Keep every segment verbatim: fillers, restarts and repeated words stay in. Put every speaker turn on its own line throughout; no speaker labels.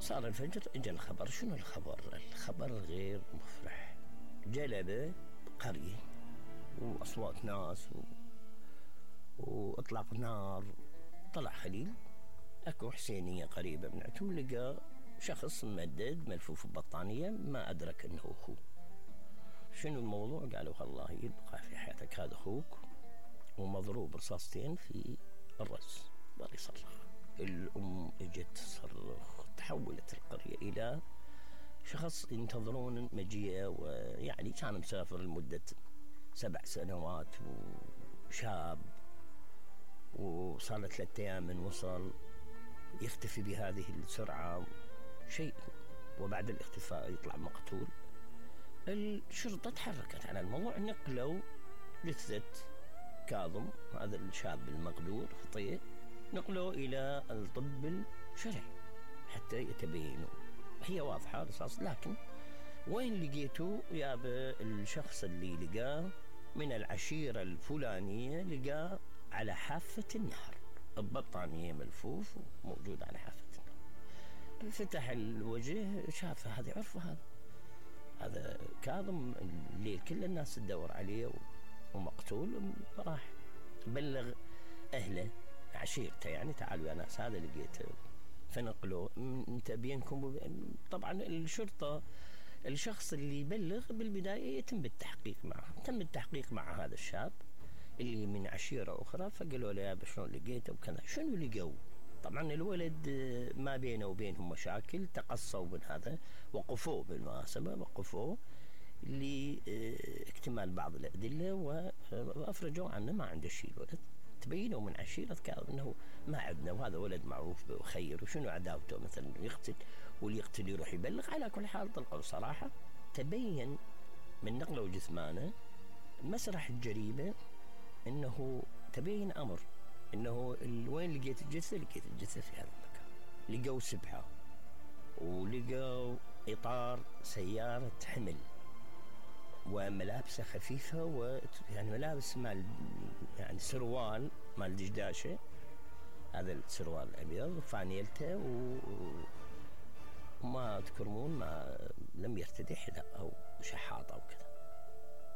صار الفجر، اجى الخبر. شنو الخبر؟ الخبر غير مفرح. جلبة قرية واصوات ناس و... واطلاق نار. طلع خليل، اكو حسينية قريبة من عندهم، لقى شخص ممدد ملفوف ببطانية، ما ادرك انه اخوه. شنو الموضوع؟ قالوا والله يبقى في حياتك هذا اخوك، ومضروب رصاصتين في الراس، ظل يصرخ. الام اجت تصرخ، تحولت القرية الى شخص ينتظرون مجيئه، ويعني كان مسافر لمدة سبع سنوات وشاب، وصار له ثلاثة ايام من وصل، يختفي بهذه السرعة شيء، وبعد الاختفاء يطلع مقتول. الشرطة تحركت على الموضوع، نقلوا جثة كاظم هذا الشاب المقدور خطير، نقلوا إلى الطب الشرعي حتى يتبينوا. هي واضحة رصاص، لكن وين لقيته؟ يابا الشخص اللي لقاه من العشيرة الفلانية، لقاه على حافة النهر، البطانية ملفوف وموجود على حافة النهر. فتح الوجه، شافه، هذا عرفه، هذا هذا كاظم، الليل كل الناس تدور عليه ومقتول. راح بلغ أهله عشيرته، يعني تعالوا يا ناس هذا لقيته، فنقلوا. انت بينكم طبعا الشرطة، الشخص اللي يبلغ بالبداية يتم بالتحقيق معه. تم التحقيق مع هذا الشاب اللي من عشيرة أخرى، فقالوا له يا شلون لقيته وكذا. شنو لقوا؟ طبعا الولد ما بينه وبينهم مشاكل، تقصوا من هذا، وقفوه بالمناسبة، وقفوه لاكتمال بعض الأدلة، وأفرجوا عنه ما عنده شيء. الولد تبينوا من عشيرة كاظم انه ما عندنا، وهذا ولد معروف بخير، وشنو عداوته مثلا يقتل، واللي يقتل يروح يبلغ. على كل حال طلقوا صراحة. تبين من نقله جثمانه مسرح الجريمة، انه تبين امر انه وين لقيت الجثة؟ لقيت الجثة في هذا المكان. لقوا سبحة، ولقوا اطار سيارة حمل، وملابسه خفيفة، ويعني ملابس مال يعني سروال مال دشداشة، هذا السروال الأبيض، وفانيلته، وما تكرمون ما لم يرتدي حذاء أو شحاطة أو كذا.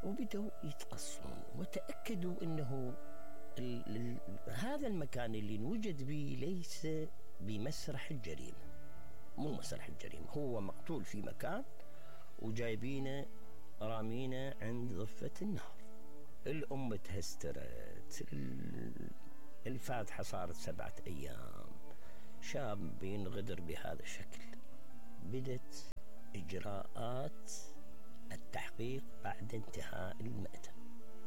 وبدأوا يتقصون، وتأكدوا أنه ال ال هذا المكان اللي انوجد به ليس بمسرح الجريمة، مو مسرح الجريمة، هو مقتول في مكان وجايبينه رامينه عند ضفة النهر. الأم تهسترت، الفاتحة صارت سبعة أيام، شاب ينغدر بهذا الشكل. بدت إجراءات التحقيق بعد انتهاء المأتم.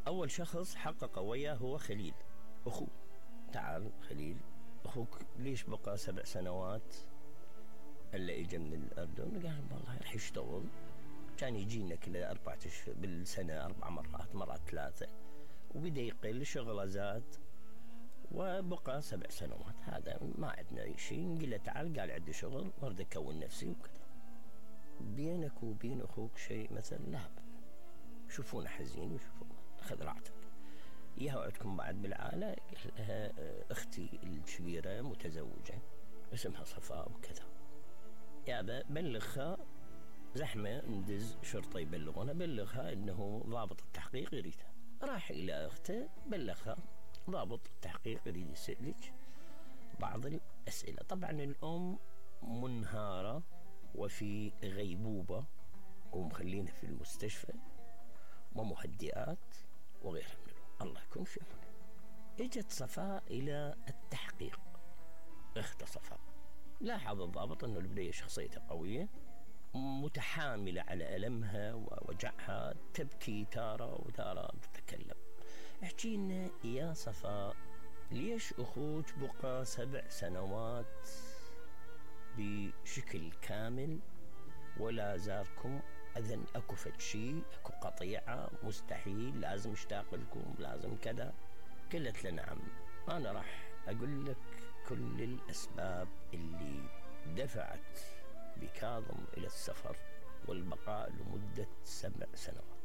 أول شخص حقق وياه هو خليل أخوه. تعال خليل، أخوك ليش بقى سبع سنوات إلا إجا من الأردن؟ قال والله رح يشتغل، كان يجينا كل أربعة أشهر بالسنة، أربع مرات مرات ثلاثة، وبدأ يقل، شغله زاد، وبقى سبع سنوات. هذا ما عندنا شيء. قل له تعال، قال عندي شغل، ورد أكون نفسي وكذا. بينك وبين أخوك شيء مثلا؟ لا، شوفونا حزين وشوفونا، خذ راحتك. ياها عندكم بعد بالعائلة؟ قال لها أختي الكبيرة متزوجة اسمها صفاء وكذا. يابا بلغها، زحمة ندز شرطة يبلغونها، بلغها انه ضابط التحقيق يريدها. راح الى اخته، بلغها ضابط التحقيق يريد يسألك بعض الاسئلة. طبعا الام منهارة وفي غيبوبة، ومخلينها في المستشفى، ومهدئات وغيرها من الأمور. الله يكون في عونه. اجت صفاء الى التحقيق، اخت صفاء. لاحظ الضابط انه البنية شخصيته قوية، متحاملة على ألمها ووجعها، تبكي تارة وتارة تتكلم. احكي لنا يا صفاء، ليش أخوك بقى سبع سنوات بشكل كامل ولا زاركم؟ أذن أكو فد شيء، أكو قطيعة، مستحيل، لازم اشتاق لكم، لازم كذا. قلت له نعم، أنا راح أقول لك كل الأسباب اللي دفعت بكاظم إلى السفر والبقاء لمدة سبع سنوات.